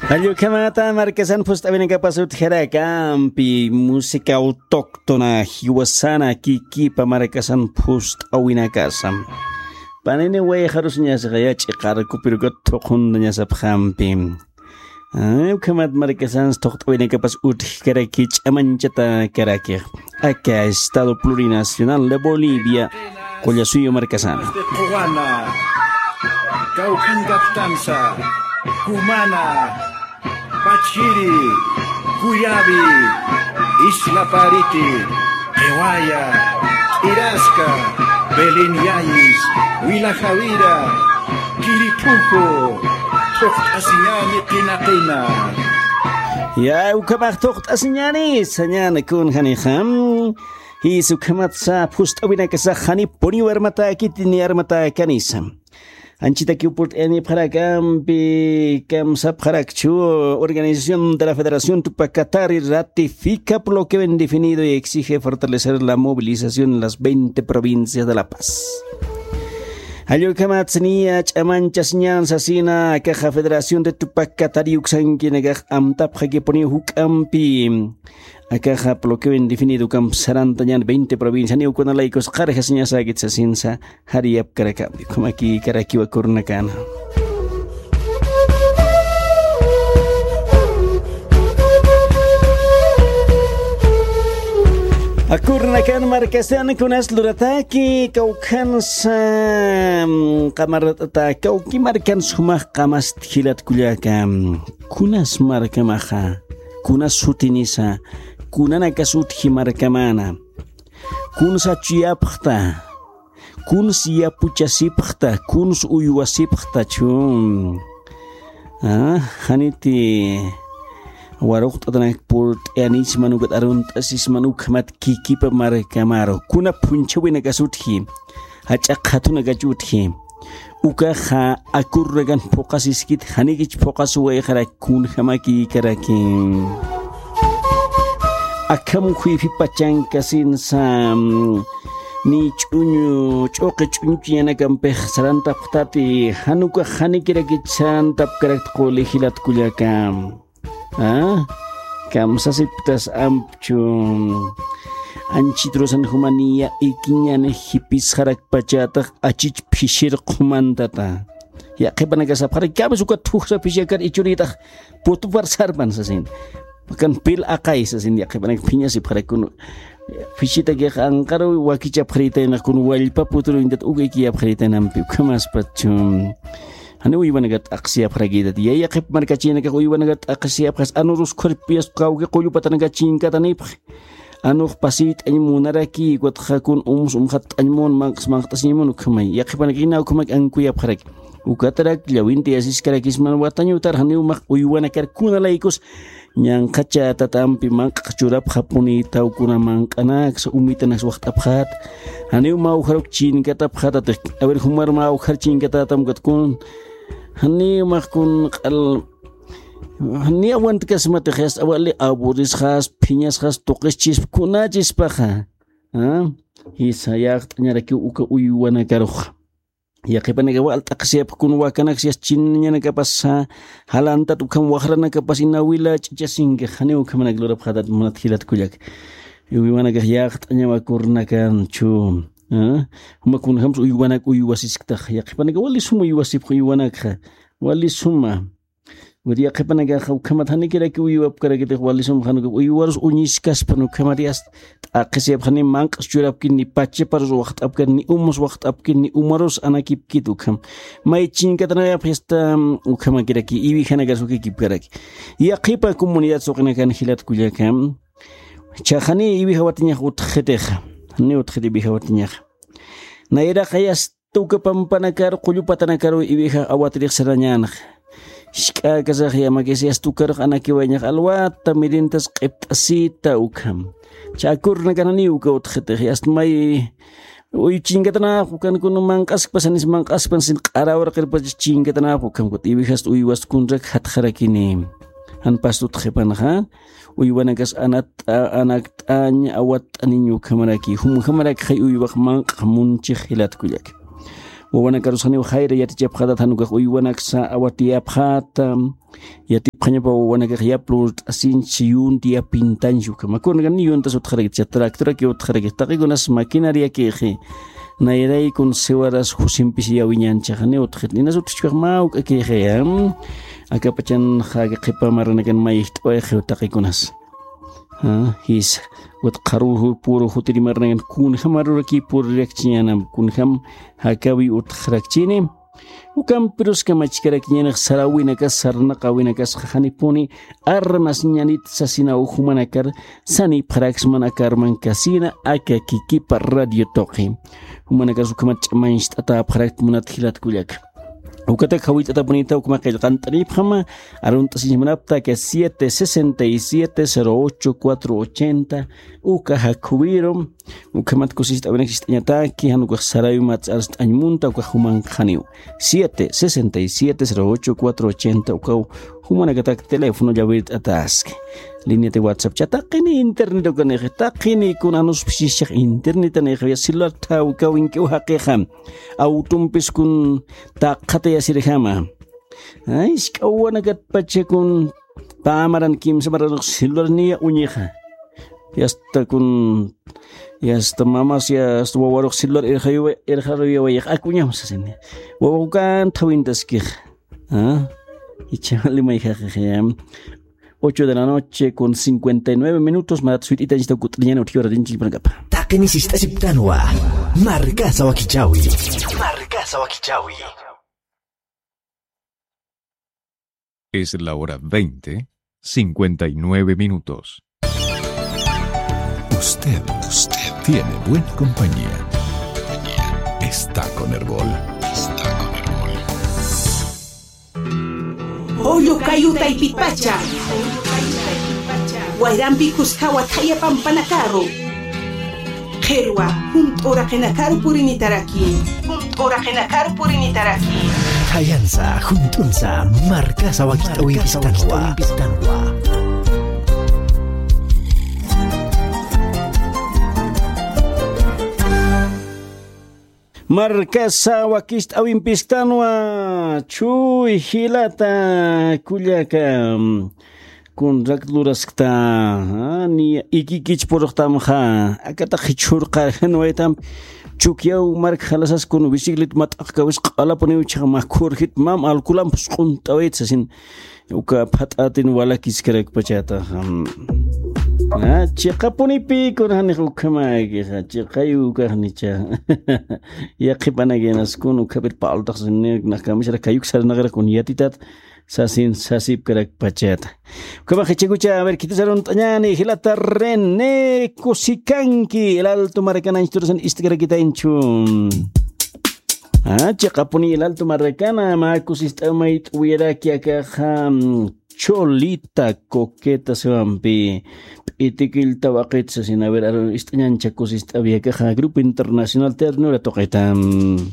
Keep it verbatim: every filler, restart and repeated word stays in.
Jallukhamata markasan phust'awinakapas utjarakampi, música autóctona jiwasana kikipa markasan phust'awinakasa. Panini wayxarusiñasaxa yach'i qarkupirukat thuqhuntañasapxampi. Ukhamat markasans thuqt'awinakapas utjkaraki ch'amanchatakaraki. Aka Estado Plurinacional de Bolivia, Qullasuyu markasana. Quwana, Caucán Captanza, Cumana, Pachiri, Cuyabi, Isla Pariti, Qhiwaya, Irasca, Belén Yayis, Huila Jawira, Quiripujo, Thuqt'asiñani qina qina. Ya, ukhamax thuqt'asiñani, sañani kunjanixa. Jis ukhamatsa phust'awinakasa janipuniw armatäkiti ni armatäkanisa. Anchitakiw purt'ayanipxarakampi, kamsapxarakchu, Organización de la Federación Tupac Katari ratifica bloqueo indefinido y exige fortalecer la movilización en las veinte provincias de La Paz. Jallukhamat siniya ch'amanchasiñan sasina, akaxa Federación de Tupac Katari uksankinakax amtapxakipuniw juk'ampi. Akaxa bloqueo indefinido ukhamp sarantañan veinte provincia, janiw kuna laykus qarjasiñasäkit sasinsa, jariyapkarakampi, ukhamakïkarakiwa akurunakana. Akurnakan markasan kunas lurataki, kawkhansa, mm, qamarata, kawki markan sumax qamast jilat kullaka. Kunas markamaxa, kunas sutinisa, kunanakas utji markamana. Kuns achuyapxta, kuns yapuchasipxta, kuns uywasipxta chun. Ah, janiti waruqt'atanak purt'ayanisman ukat arunt'asisman ukhamat kikipa markamaru. Kuna phunchhawinakas utji, jach'a qhatunakach utji. Ukaxa akurnakan phuqasiskit, janikich phuqasuwayxarak kunjamakïkaraki. Akham khuypi pachankasinsa, ni ch'uñu, ch'uqi ch'uñu chuñanakampix sarantapxtati, jan ukax janikirakich sarantapkarakt quli jilat kullaka. Ah, kamsasiptas ampchu. Anchit rusan jumaniya ikiñani jipisxarakpachätax achich phishir qhumantata. Yaqhipanaka sapxarak, kamis uka thujsa phishakar ichurïtax putupar sarpan sasin. Kan pil aqay sasin, yaqhipanaka phiñasipxarak kun. Phishitakixa anqaru wakichapxarïtaynax kun wallpa puturuñtat uka ikiyapxarïtaynampi, ukhamaspat chun. Janiw uywanaka t'aqsiyapxarakïtat. Yaqhip markachinakax uywanaka t'aqsiyapxas, anurus khuyrpiyas kawki qullupatanaka chinkatanipxi. Anux pasiyt'añ munaraki, ukatxa kun umus umxatt'añ mun, manq'as manqt'asiñ mun ukhamay. Yaqhipanaka ina ukhamak ankuyapxaraki. Ukatarak llawinti asiskarakisman watañutar janiw max uywanakar kuna laykus ñanqhacha tatampi manq'ax churapxapunïtaw kuna manq'anaksa umitanaksa waxt'apxät. Janiw mä ujaruk chinkatapxätatix. A ver, jumar mä ujar chinkatätam ukat kun. Janiw max kun q'al. Janiw awantkasmatix, yasta wali aburrisxas, phiñasxas, tuqischisp, kunachispaxa. Ah, jisa yaqt'añarakiw uka uywanakarux. Yaqhipanaka wal t'aqsiyapxi kun wakanaksa yasta chinañanakapasa, jalantat ukham waxranakapas ina wila ch'ichasinkix, janiw ukhamanak lurapxätat munat jilat kullak. Uywanakax yaqt'añaw akurnakanchu. Ah, juma kunjams uywanak uywasisktax. Yaqhipanaka wali suma uywasipxi uywanakxa. Wali suma. Ukat yaqhipanakaxa ukhamat janikiraki uywapkarakitix wali sum jan uka uywarus uñiskaspan ukhamat yasta t'aqhisiyapxani manq'as churapkin ni pachaparus waxt'apkan ni umus waxt'apkin ni umarus anakipkit ukham. May chinkatanayapx yasta ukhamakiraki iwijanakas ukikipkaraki. Yaqhipa comunidad suqinakan jilat kullaka. Chhaxani iwijawatiñax utjxitixa. Ni utjxit iwijawatiñaxa. Nayraqa yasta uka pampanakar, qullu patanakar iwijax awatirix sarañänxa. Jisk'äkasax yamakis yasta ukarux anakiwayañax alwata mirintas q'ipt'asita ukham. Chhakurnakananiw uka utjxitix, yasta may uyu chinkatanäx ukan kun manq'askpasanis manq'askpasin q'arawraqirpach chinkatanäx ukham kut iwijast uywast kunrak jatxarakini. Jan pastut qhipanxa, uywanakas anat-, anakt'añ awatt'aniñ ukhamaraki, jumjamarakxay uywax manq'ax munchix jilat kullak. Wawanakarus janiw jayra yatichapxätat, jan ukax uywanaksa awatiyapxäta. Yatipxañapa wawanakax yap lurt'asinchi, yunti yapintanchi ukhama. Kunkan ni yuntas utxarakitcha, tractoraki utxarakix, taqikunas maquinariakixi. Nayraykun siwaras jusimpis yawiñanchaxa, ni utxit. Inas utxchkax mä uk'akixi, am? Akapachan jaki qhipa maranakan mayjt'awayxiw taqikunas. Ah, jisa. Utxaruw puru jutiri maranakan kunjam aruraki purirakchiñänam, kunjam jakawi utxarakchini. Ukampirus kamachkarakiñanix saräwinakas, sarnaqäwinakas, janipuni armas ñanit sasinaw jumanakar sanipxaraksman aka armankasina, aka kikipa radio tuqi. Jumanakas ukhamat ch'amañcht'atäpxarakt munat jilat kullaka. Ukatak jawillt'atapunita ukhama qillqant'anipxama, arunt'asiñchmanapta aka siete sesenta y siete, cero ocho, cuatro ochenta, uka jakhuwiru. Ukhamat kusist'äwinak sist'añataki, jan ukax saräwi mats'arst'añ munta, ukax jumanx janiw. Siete sesenta y siete, cero ocho, cuatro ochenta, ukaw jumanakatak teléfono llawirt'ataski. Línea de WhatsApp cha, taqini internet ukanixi, taqini kun anusphisischax internetanixi, ya celular thaw kawink'iw jaqixa. Autompis kun taqxatayasirjama. Ay, isk'awanakatpacha kun pä maran kimsa maranux celular niya uñixa. Yasta kun, yasta mamas, yasta wawarux celular irxaruyawayax, akuñam sasini. Wawa ukan thawintaskix. Ah, ichali mayjaxixiyam. Ocho de la noche con cincuenta y nueve minutos, marat suyt'itanchita kut'riñan utjiwara dinchillpanakapa. Taqini sist'asiptanwa. Markasa wakichawi. Markasa wakichawi. Es la hora veinte, cincuenta y nueve minutos. Usted, usted tiene buena compañía. Está con Erbol. Está con Erbol. Pollo kayu taypitpacha. Wayrampi kuskawa thaya pampanakaru. Qhirwa, junt'u uraqinakaru purinitaraki. Junt'u uraqinakaru purinitaraki. Thayansa, junt'unsa, markasa wakich'awimpistanwa. Markasa wakicht'awimpistanwa, chuy jilata kullaka. Kunrak luraskta, ah, ni ikikich purxtamxa, akata jichhurqarjanwaytam, Chukyaw mark jalasas kun biciclet mat'aqkawis q'alapuniw chhax makhurjit mam alcoholampus q'unt'awayt sasin, uka phat'atin walakiskarakpachata, am. Ah, chiqapunipi kun janix ukhamakixa, chiqayu ukaxnicha. Yaqhipanakinaskun ukhamir paltaxsinir, nax kamisara kayuk sarnaqira kun yatitat, sasin sasipkarakpachata. Ukhamax jichhakucha, a ver, khitis arunt'añäni, jilata René kusikanki, El Alto markana anchhiturasan ist'karakitañchu. Ah, chiqapuni El Alto markana, mä kusist'aw mayt'uwiraki akaxa, mm, Cholita Coqueta siwampi. P'itikillta waqit sasin, a ver, aru ist'añancha kusist'awi akaxa, Grupo Internacional Ternura tuqitam.